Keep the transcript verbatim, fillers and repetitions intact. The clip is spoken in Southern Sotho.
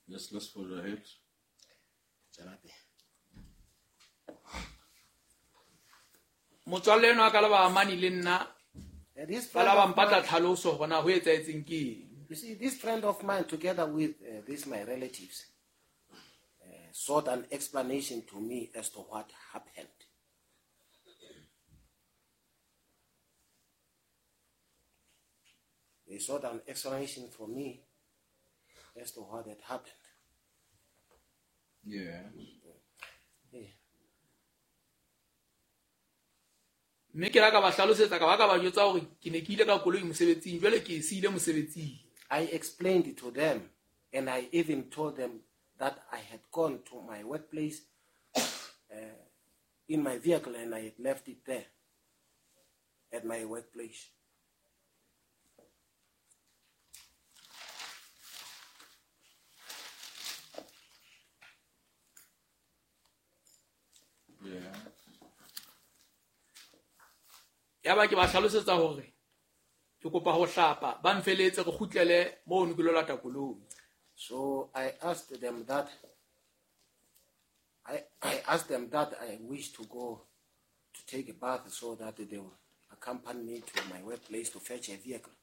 Yes, let's forge ahead. Tswela pele. Motswalle enwa ka le ba amane le nna Uh, this ba friend la ba of mpatla mine, tlhaloso hore na ho etsahetseng ke eng. you see, this friend of mine, together with uh, this my relatives, uh, sought an explanation to me as to what happened. They sought an explanation from me as to what had happened. Yeah. Yeah. Mme ke la ka ba hlalosetsa ka ba ka ba jwetsa hore ke ne ke ile ka koloi mosebetsing jwale ke e siile mosebetsing. I explained it to them, and I even told them that I had gone to my workplace uh, in my vehicle and I had left it there at my workplace. Yeah. Yaba ke ba hlalosetsa hore ke kopa ho hlapa ba mfeletse re kgutlele moo ne ke lo lata koloi. So I asked them that I, I asked them that I wish to go to take a bath so that they will accompany me to my workplace to fetch a vehicle.